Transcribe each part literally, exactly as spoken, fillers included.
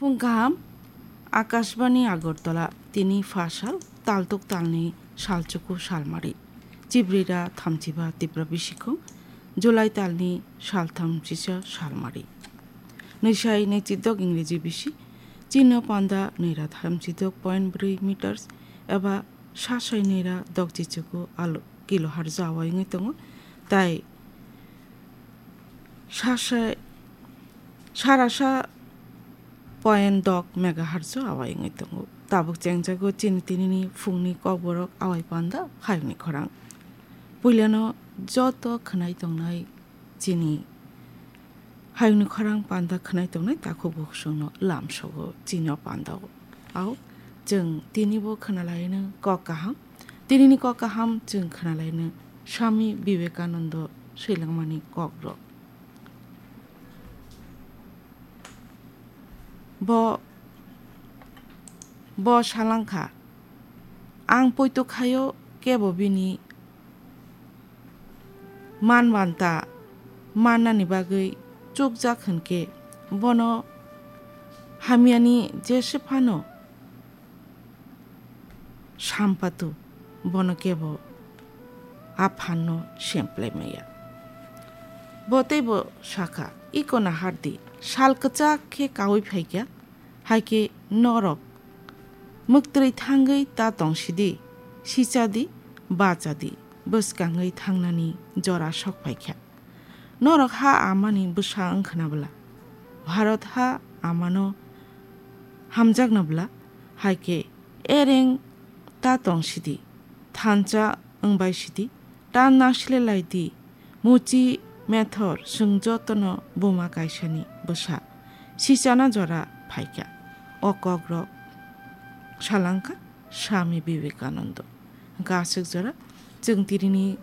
Phung kaham, Akashbani Agartala, tini pha sal, taltuk talni salchuku salmari. Chibrira thamchiba Tipra bisikhung, July talni saltham sisa salmari. Nwisai nwichidok Ingreji bisi, chino panda nwira thamchidok point brwi meters, eba sasai nwira dok chichuku alo kilo harjo awai wngwi tongo, tai sasai sarasa point dok megahertz o awai wngwi tongo. Tabuk chengjago chini tinini phungni kokborok awai panda hayungni khorang. Puilano joto khwnai tongnai chini hayungni khorang panda khwnai tongnai takhuk bukhukno lamsogo chini o panda o. Au chwng tinibo khwnalaino kok kaham. Tinini kok kaham chwng khwnalaino Swami Vivekananda swilangmani kokrok. Bo, bo salangkha, ang poito khaio kebo bini man banta mannani bagwi chukjak hwnkhe bono hamyani jese phano sampatu bono kebo a phanno semplai maya. Bo teibo sakha, "Iko nahardi, sal kwchak khe kaui phaikha, haikhe norok mwktwrwi thangwi ta tongsidi, sichadi, bachadi, bwskangwi thangnani jora sok phaikha. Norok ha amani bwsa wngkhna bwla, Bharat ha amano hamjakna bwla, haikhe ereng ta tongsidi, thansa wngbai sidi, ta nasilelai di, muchi methor chwng jotono buma kaisani bwsa, sichana jora phaikha." O kokrok salangkha Swami Vivekananda. Hwnkhe aswk jora chwng tinini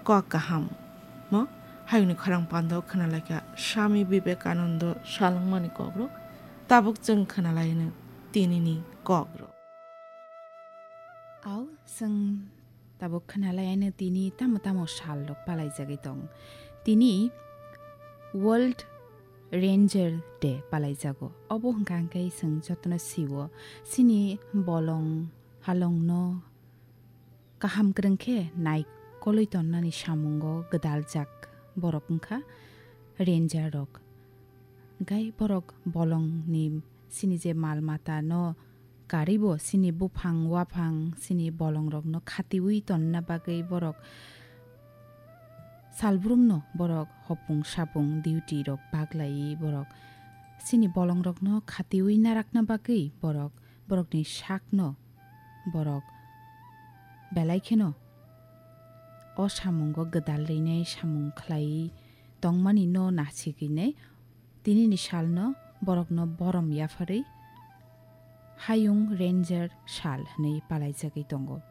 kok kaham mo hayungni khorang pandao khwnalaikha Swami Vivekananda salangmani kokrok. Tabuk chwng khwnalaino tinini kokrok. Au, chwng tabuk khwnalaiano tini tamo tamo sal rok palaijagwi tong. Tini World Ranger Day palaijago. Obo hwnkha hwnkhe chwng jotono sio, chini bolong halongno kaham kwrwng khe naikolwi tonnani samungo gwdaljak borok wngkha ranger rok. Hwnkhe borok bolongni chini je mal mata no karibo chini buphang waphang chini bolongrokno khatiui tonna bagwi borok salbrumno borok hopung sapung duty rok baglaiwi borok chini bolongrokno khatiui narakna bagwi borok borokni sakno borok belai kheno o samungo gwdal rwinai samung khlaiwi tongmani no nasigwinai tinini salno borokno borom yapharwi Hayung Ranger sal hwnwi palaijagwi tongo.